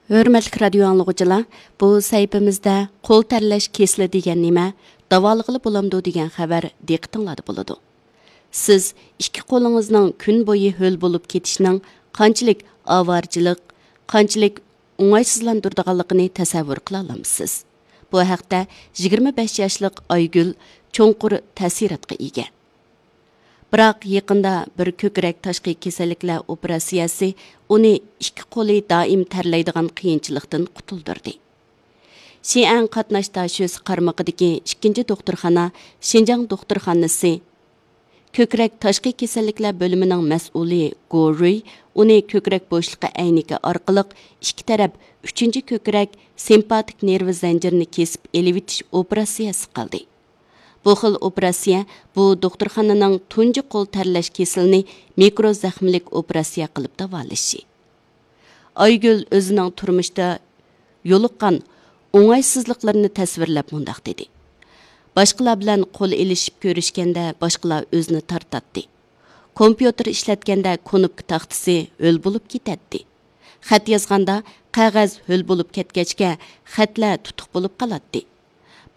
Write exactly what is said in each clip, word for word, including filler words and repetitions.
ھۆرمەتلىك رادىيو ئاڭلىغۇچىلار، بۇ سەھىپىمىزدە قول تەرلەش كېسىلى دېگەن نېمە، داۋالىغىلى بولامدۇ دېگەن خەۋەر دىققىتىڭلاردا بولىدۇ. سىز ئىككى قولىڭىزنىڭ كۈن بويى ھۆل بولۇپ كېتىشىنىڭ قانچىلىك ئاۋارىچىلىق، قانچىلىك ئوڭايسىزلاندۇرىدىغانلىقىنى تەسەۋۋۇر قىلالامسىز؟ بۇ ھەقتە يىگىرمە بەش ياشلىق ئايگۈل چوڭقۇر تەسىراتقا ئىگە. بىراق يېقىندا بىر كۆكرەك تاشقى كېسەللىكلەر ئوپېراتسىيەسى ئۇنى ئىككى قولى دائىم تەرلەيدىغان قىيىنچىلىقتىن قۇتۇلدۇردى. شىئەن قاتناش داشۆسى قارمىقىدىكى ئىككىنچى دوختۇرخانا شىنجاڭ دوختۇرخانىسى كۆكرەك تاشقى كېسەللىكلەر بۆلۈمىنىڭ مەسئۇلى گو رۇي ئۇنى كۆكرەك بوشلۇقى ئەينىكى ئارقىلىق ئىككى تەرەپ ئۈچىنچى كۆكرەك سىمپاتىك نېرۋا زەنجىرىنى كېسىپ ئېلىۋېتىش ئوپېراتسىيەسى قىلدى. بۇ خىل ئوپېراتسىيە بۇ دوختۇرخانىنىڭ تۇنجى قول تەرلەش كېسىلىنى مىكرو زەخمىلىك ئوپېراتسىيە قىلىپ داۋالىشى. ئايگۈل ئۆزىنىڭ تۇرمۇشتا يولۇققان ئوڭايسىزلىقلىرىنى تەسۋىرلەپ مۇنداق دېدى: باشقىلار بىلەن قول ئېلىشىپ كۆرۈشكەندە باشقىلار ئۆزىنى تارتاتتى. كومپيۇتېر ئىشلەتكەندە كۇنۇپكا تاختىسى ھۆل بولۇپ كېتەتتى. خەت يازغاندا قەغەز ھۆل بولۇپ كەتكەچكە خەتلەر تۇتۇق بولۇپ قالاتتى.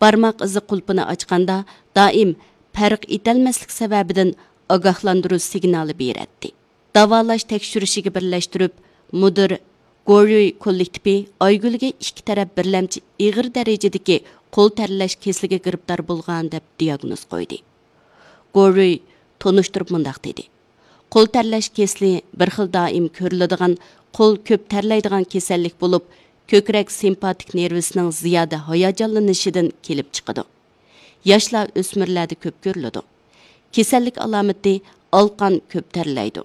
بارماق ئىزى قۇلپىنى ئاچقاندا دائىم پەرق ئېتەلمەسلىك سەۋەبىدىن ئاگاھلاندۇرۇش سىگنالى بېرەتتى. داۋالاش تەكشۈرۈشىگە بىرلەشتۈرۈپ، مۇدىر گوريۇي كوللېكتىپى ئايگۈلگە ئىككى تەرەپ بىرلەمچى ئېغىر دەرىجىدىكى قول تەرلەش كېسىلىگە گىرىپتار بولغان دەپ دىياگنوز قويدى. گوريۇي تونۇشتۇرۇپ مۇنداق دېدى: قول تەرلەش كېسىلى بىر خىل دائىم كۆرۈلىدىغان قول كۆپ تەرلەيدىغان كېسەللىك بولۇپ، كۆكرەك سىمپاتىك نېرۋىسىنىڭ زىيادە ھاياجانلىنىشىدىن كېلىپ چىقىدۇ. ياشلار، ئۆسمۈرلەردە كۆپ كۆرۈلىدۇ. كېسەللىك ئالامىتى ئالقان كۆپ تەرلەيدۇ.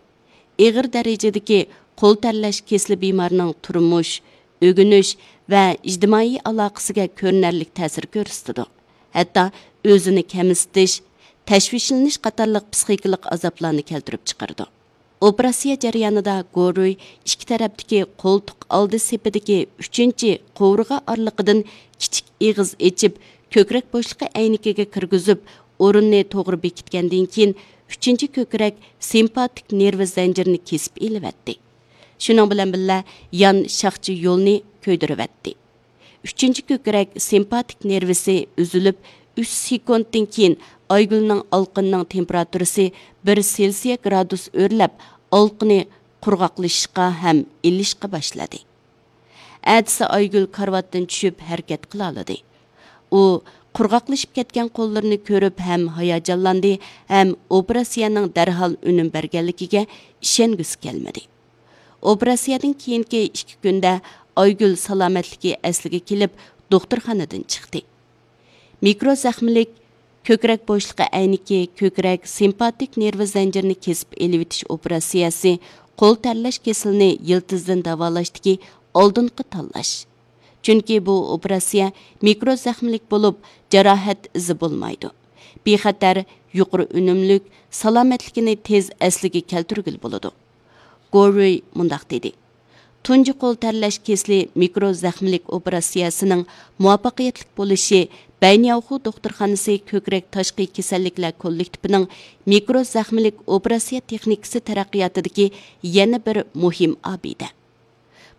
ئېغىر دەرىجىدىكى قول تەرلەش كېسىلى بىمارنىڭ تۇرمۇش، ئۆگىنىش ۋە ئىجتىمائىي ئالاقىسىگە كۆرۈنەرلىك تەسىر كۆرسىتىدۇ. ھەتتا ئۆزىنى كەمسىتىش، تەشۋىشلىنىش قاتارلىق پسىخىكىلىق ئازابلارنى كەلتۈرۈپ چىقىرىدۇ. ئوپېراتسىيە جەريانىدا گورۇي ئىككى تەرەپتىكى قولتۇق ئالدى سېپىدىكى ئۈچىنچى قوۋۇرغا ئارىلىقىدىن كىچىك ئېغىز ئېچىپ، كۆكرەك بوشلۇقى ئەينىكىگە كىرگۈزۈپ، ئورۇننى توغرا بېكىتكەندىن كېيىن، ئۈچىنچى كۆكرەك سىمپاتىك نېرۋا زەنجىرىنى كېسىپ ئېلىۋەتتى. شۇنىڭ بىلەن بىللە، يان شاخچە يولنى كۆيدۈرۈۋەتتى. ئۈچىنچى كۆكرەك سىمپاتىك نېرۋىسى ئۈزۈلۈپ، ئۈچ سېكۇنتتىن كېيىن ئايگۈلنىڭ ئالقىنىنىڭ تېمپېراتۇرىسى بىر سېلسىيە گرادۇس ئۆرلەپ، ئالقىنى قۇرغاقلىشىشقا ھەم ئىللىشقا باشلىدى. ئەتىسى ئايگۈل كارىۋاتتىن چۈشۈپ ھەرىكەت قىلالىدى. ئۇ قۇرغاقلىشىپ كەتكەن قوللىرىنى كۆرۈپ ھەم ھاياجانلاندى، ھەم ئوپېراتسىيەنىڭ دەرھال ئۈنۈم بەرگەنلىكىگە ئىشەنگۈسى كەلمىدى. ئوپېراتسىيەدىن كېيىنكى ئىككى كۈندە ئايگۈل سالامەتلىكى ئەسلىگە كېلىپ، دوختۇرخانىدىن چىقتى. مىكرو زەخمىلىك كۆكرەك بوشلۇقى ئەينىكى كۆكرەك سىمپاتىك نېرۋا زەنجىرىنى كېسىپ ئېلىۋېتىش ئوپېراتسىيەسى قول تەرلەش كېسىلىنى يىلتىزدىن داۋالاشتىكى ئالدىنقى تاللاش. چۈنكى بۇ ئوپېراتسىيە مىكرو زەخمىلىك بولۇپ، جاراھەت ئىزى بولمايدۇ. بىخەتەر، يۇقىرى ئۈنۈملۈك، سالامەتلىكىنى تېز ئەسلىگە كەلتۈرگىلى بولىدۇ. گورۇي مۇنداق دېدى: تۇنجى قول تەرلەش كېسىلى مىكرو زەخمىلىك ئوپېراتسىيەسىنىڭ مۇۋەپپەقىيەتلىك بولۇشى بەينياۋخۇ دوختۇرخانىسى كۆكرەك تاشقى كېسەللىكلەر كوللېكتىپىنىڭ مىكرو زەخمىلىك ئوپېراتسىيە تېخنىكىسى تەرەققىياتىدىكى يەنە بىر مۇھىم ئابىدە.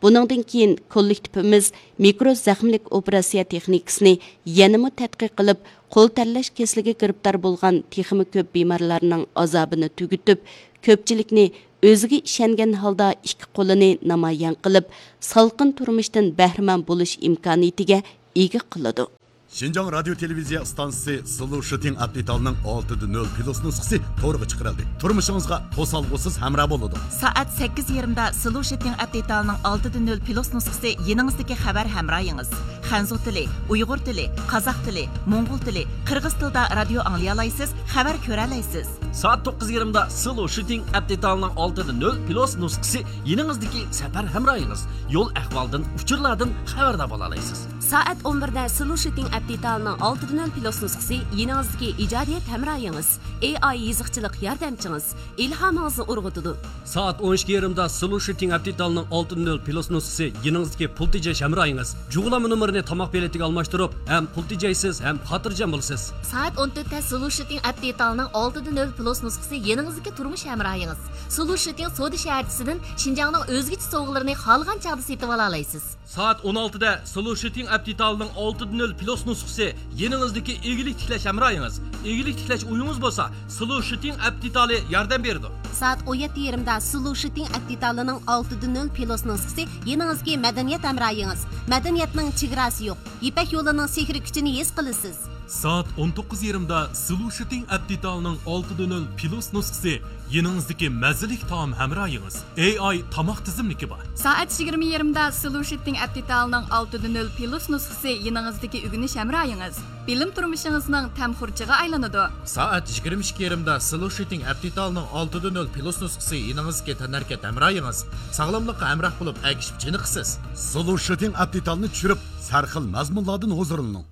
بۇنىڭدىن كېيىن كوللېكتىپىمىز مىكرو زەخمىلىك ئوپېراتسىيە تېخنىكىسىنى يەنىمۇ تەتقىق قىلىپ، قول تەرلەش كېسىلىگە گىرىپتار بولغان تېخىمۇ كۆپ بىمارلارنىڭ ئازابىنى تۈگىتىپ، كۆپچىلىكنى ئۆزىگە ئىشەنگەن ھالدا ئىككى قولىنى نامايان قىلىپ، سالقىن تۇرمۇشتىن بەھرىمەن بولۇش ئىمكانىيىتىگە ئىگە قىلىدۇ. شىنجاڭ رادىيو تېلېۋىزىيە ئىستانسىسى سلو شىتىڭ ئەپ دېتالىنىڭ ئالتىدە نۆل پلۇس نۇسخىسى تورغا چىقىرىلدى. تۇرمۇشىڭىزغا توسالغۇسىز ھەمراھ بولىدۇ. سائەت سەككىز يېرىمدا سلو شىتىڭ ئەپ دېتالىنىڭ ئالتىدە نۆل پلۇس نۇسخىسى يېنىڭىزدىكى خەۋەر ھەمراھىڭىز. خەنزۇ تىلى، ئۇيغۇر تىلى، قازاق تىلى، موڭغۇل تىلى، قىرغىز تىلىدا رادىيو ئاڭلىيالايسىز، خەۋەر كۆرەلەيسىز. سائەت توققۇز يېرىمدا سلو شىتىڭ ئەپ دېتالىنىڭ ئالتىدە نۆل پلۇس نۇسخىسى يېنىڭىزدىكى سەپەر ھەمراھىڭىز. يول ئەھۋالدىن، ئۇچۇرلاردىن خەۋەردار بولالايسىز. سائەت ئون بىردە سلۇشىتىڭ ئەپ دېتالىنىڭ ئالتىدە نۆل پلۇس نۇسخىسى يېنىڭىزدىكى ئىجادىيەت ھەمراھىڭىز، ئېي ئاي يېزىقچىلىق ياردەمچىڭىز، ئىلھامىڭىزنى ئۇرغۇتىدۇ. سائەت ئون ئىككى يېرىمدا سلۇشىتىڭ ئەپ دېتالىنىڭ ئالتىدە نۆل پلۇس نۇسخىسى يېنىڭىزدىكى پۇل تېجەش ھەمراھىڭىز، جۇغلانما نومۇرىنى تاماق پېلىتىگە ئالماشتۇرۇپ، ھەم پۇل تېجەيسىز، ھەم خاتىرجەم بولىسىز. سائەت ئون تۆتتە سلۇشىتىڭ ئەپ دېتالىنىڭ ئالتىدە نۆل پلۇس نۇسخىسى يېنىڭىزدىكى تۇرمۇش ھەمراھىڭىز. سلۇشىتىڭ سودا شەھەرچىسىدىن شىنجاڭنىڭ ئۆزگىچە سوۋغىلىرىنى خالىغان چاغدا سېتىۋالالايسىز. سائەت ئون ئالتىدە سلۇشىتىڭ ئەپ دېتالىنىڭ ئالتىدە نۆل پلۇس نۇسخىسى يېنىڭىزدىكى ئىگىلىك تىكلەش ھەمراھىڭىز. ئىگىلىك تىكلەش ئويىڭىز بولسا، سلۇشىتىڭ ئەپ دېتالى ياردەم بېرىدۇ. سائەت ئون يەتتە يېرىمدا سلۇشىتىڭ ئەپ دېتالىنىڭ ئالتىدە نۆل پلۇس نۇسخىسى يېنىڭىزدىكى مەدەنىيەت ھەمراھىڭىز. مەدەنىيەتنىڭ چېگراسى يوق. يىپەك يولىنىڭ سېھرىي كۈچىنى ھېس قىلىسىز. سائەت ئون توققۇز يېرىمدا سلۇشىتىڭ ئەپ دېتالىنىڭ ئالتىدە نۆل پلۇس نۇسخىسى يېنىڭىزدىكى مەززىلىك تائام ھەمراھىڭىز. ئېي ئاي تاماق تىزىملىكى بار. سائەت يىگىرمە يېرىمدا سلۇشىتىڭ ئەپ دېتالىنىڭ ئالتىدە نۆل پلۇس نۇسخىسى يېنىڭىزدىكى ئۆگىنىش ھەمراھىڭىز. بىلىم تۇرمۇشىڭىزنىڭ تەم خۇرجىغا ئايلىنىدۇ. سائەت يىگىرمە ئىككى يېرىمدا سلۇشىتىڭ ئەپ دېتالىنىڭ ئالتىدە نۆل پلۇس نۇسخىسى يېنىڭىزدىكى تەنھەرىكەت ھەمراھىڭىز. ساغلاملىققا ھەمراھ بولۇپ ئەگىشىپ چېنىقىسىز. سلۇشىتىڭ ئەپ دېتالىنى چۈشۈرۈپ، سەرخىل مەزمۇنلاردىن ھۇزۇرلىنىڭ.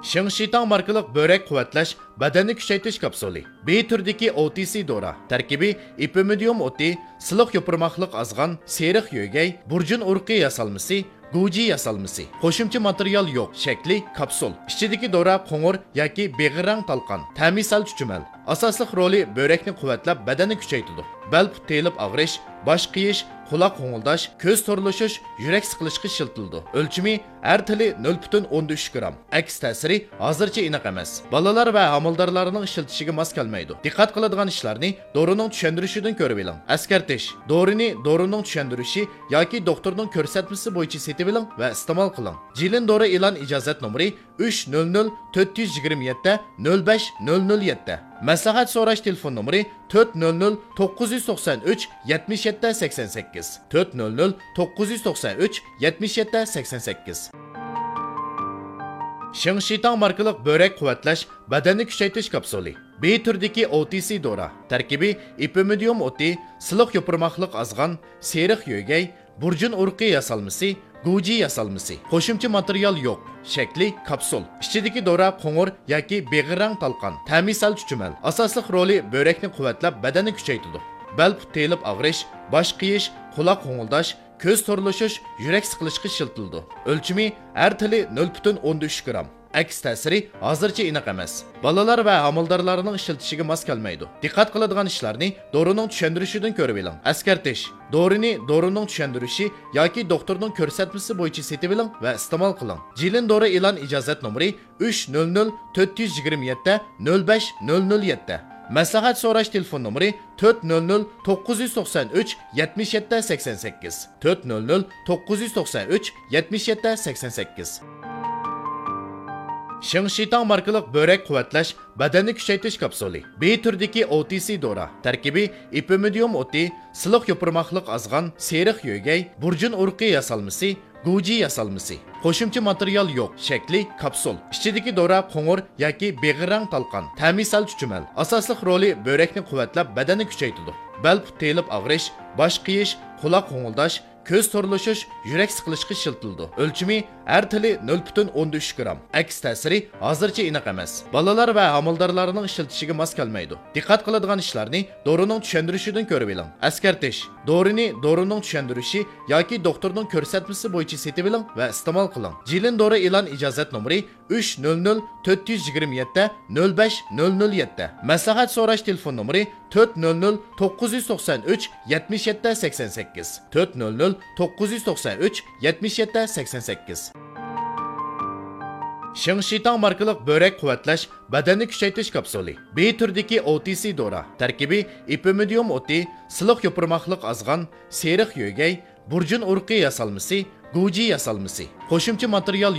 شىڭشىتاڭ ماركىلىق بۆرەك قۇۋۋەتلەش، بەدەننى كۈچەيتىش كاپسۇلى. بى تۈرىدىكى ئو تى سى دورا. تەركىبى ئېپىمىدىيۇم ئوتى، سىلىق يوپۇرماقلىق ئازغان، سېرىق يۆگەي، بۇرجۇن ئۇرۇقى ياسالمىسى، گۇجى ياسالمىسى. قوشۇمچە ماتېرىيال يوق. شەكلى كاپسۇل. ئىچىدىكى دورا قوڭۇر ياكى بېغىر رەڭ تالقان. تەمى سەل چۈچۈمەل. ئاساسلىق رولى بۆرەكنى قۇۋۋەتلەپ، بەدەننى كۈچەيتىدۇ. بەل پۇت تېيىلىپ ئاغرىش، باش قېيىش، قۇلاق غوڭۇلداش، كۆز تورلىشىش، يۈرەك سىقىلىشقا ئىشلىتىلىدۇ. ئۆلچىمى ھەر تىلى نۆل پۈتۈن ئوندىن ئۈچ گرام. ئەكس تەسىرى ھازىرچە ئېنىق ئەمەس. بالىلار ۋە ھامىلىدارلارنىڭ ئىشلىتىشىگە ماس كەلمەيدۇ. دىققەت قىلىدىغان ئىشلارنى دورىنىڭ چۈشەندۈرۈشىدىن كۆرۈۋېلىڭ. ئەسكەرتىش: دورىنى دورىنىڭ چۈشەندۈرۈشى ياكى دوختۇرنىڭ كۆرسەتمىسى بويىچە سېتىۋېلىڭ ۋە ئىستېمال قىلىڭ. جىلىن دورا ئېلان ئىجازەت نومۇرى ئۈچ نۆل نۆل تۆت يۈز يىگىرمە يەتتە نۆل بەش نۆل نۆل يەتتە. مەسلىھەت سوراش تېلېفون نومۇرى تۆت نۆل نۆل توققۇز يۈز توقسان ئۈچ يەتمىش يەتتە سەكسەن سەككىز، تۆت نۆل نۆل توققۇز يۈز توقسان ئۈچ يەتمىش يەتتە سەكسەن سەككىز. شىڭشىتاڭ ماركىلىق بۆرەك قۇۋۋەتلەش، بەدەننى كۈچەيتىش كاپسۇلى. بى تۈرىدىكى ئو تى سى دورا. تەركىبى ئېپىمىدىيۇم ئوتى، سىلىق يوپۇرماقلىق ئازغان، سېرىق يۆگەي، بۇرجۇن ئۇرۇقى ياسالمىسى، گۇجى ياسالمىسى. قوشۇمچە ماتېرىيال يوق. شەكلى كاپسۇل. ئىچىدىكى دورا قوڭۇر ياكى بېغىر رەڭ تالقان. تەمى سەل چۈچۈمەل. ئاساسلىق رولى بۆرەكنى قۇۋۋەتلەپ، بەدەننى كۈچەيتىدۇ. بەل پۇت تېيىلىپ ئاغرىش، باش قېيىش، قۇلاق غوڭۇلداش، كۆز تورلىشىش، يۈرەك سىقىلىشقا ئىشلىتىلىدۇ. ئۆلچىمى ھەر تىلى نۆل پۈتۈن ئوندىن ئۈچ گرام. ئەكس تەسىرى ھازىرچە ئېنىق ئەمەس. بالىلار ۋە ھامىلىدارلارنىڭ ئىشلىتىشىگە ماس كەلمەيدۇ. دىققەت قىلىدىغان ئىشلارنى دورىنىڭ چۈشەندۈرۈشىدىن كۆرۈۋېلىڭ. ئەسكەرتىش: دورىنى دورىنىڭ چۈشەندۈرۈشى ياكى دوختۇرنىڭ كۆرسەتمىسى بويىچە سېتىۋېلىڭ ۋە ئىستېمال قىلىڭ. جىلىن دورا ئېلان ئىجازەت نومۇرى ئۈچ نۆل نۆل تۆت يۈز يىگىرمە يەتتە نۆل بەش نۆل نۆل يەتتە. مەسلىھەت سوراش تېلېفون نومۇرى تۆت نۆل نۆل توققۇز يۈز توقسان ئۈچ يەتمىش يەتتە سەكسەن سەككىز، تۆت نۆل نۆل توققۇز يۈز توقسان ئۈچ يەتمىش يەتتە سەكسەن سەككىز. شىڭشىتاڭ ماركىلىق بۆرەك قۇۋۋەتلەش، بەدەننى كۈچەيتىش كاپسۇلى. بى تۈرىدىكى ئو تى سى دورا. تەركىبى ئېپىمىدىيۇم ئوتى، سىلىق يوپۇرماقلىق ئازغان، سېرىق يۆگەي، بۇرجۇن ئۇرۇقى ياسالمىسى، گۇجى ياسالمىسى. قوشۇمچە ماتېرىيال يوق. شەكلى كاپسۇل. ئىچىدىكى دورا قوڭۇر ياكى بېغىر رەڭ تالقان. تەمى سەل چۈچۈمەل. ئاساسلىق رولى بۆرەكنى قۇۋۋەتلەپ، بەدەننى كۈچەيتىدۇ. بەل پۇت تېيىلىپ ئاغرىش، باش قېيىش، قۇلاق غوڭۇلداش، كۆز تورلىشىش، يۈرەك سىقىلىشقا ئىشلىتىلىدۇ. ئۆلچىمى ھەر تىلى نۆل پۈتۈن ئوندىن ئۈچ گرام. ئەكس تەسىرى ھازىرچە ئېنىق ئەمەس. بالىلار ۋە ھامىلىدارلارنىڭ ئىشلىتىشىگە ماس كەلمەيدۇ. دىققەت قىلىدىغان ئىشلارنى دورىنىڭ چۈشەندۈرۈشىدىن كۆرۈۋېلىڭ. ئەسكەرتىش: دورىنى دورىنىڭ چۈشەندۈرۈشى ياكى دوختۇرنىڭ كۆرسەتمىسى بويىچە سېتىۋېلىڭ ۋە ئىستېمال قىلىڭ. جىلىن دورا ئېلان ئىجازەت نومۇرى ئۈچ نۆل نۆل تۆت يۈز يىگىرمە يەتتە نۆل بەش نۆل نۆل يەتتە. مەسلىھەت سوراش تېلېفون نومۇرى تۆت نۆل نۆل توققۇز يۈز توقسان ئۈچ يەتمىش يەتتە سەكسەن سەككىز، تۆت نۆل نۆل توققۇز يۈز توقسان ئۈچ يەتمىش يەتتە سەكسەن سەككىز. شىڭشىتاڭ ماركىلىق بۆرەك قۇۋۋەتلەش، بەدەننى كۈچەيتىش كاپسۇلى. بى تۈرىدىكى ئو تى سى دورا. تەركىبى ئېپىمىدىيۇم ئوتى، سىلىق يوپۇرماقلىق ئازغان، سېرىق يۆگەي، بۇرجۇن ئۇرۇقى ياسالمىسى، گۇجى ياسالمىسى. قوشۇمچە ماتېرىيال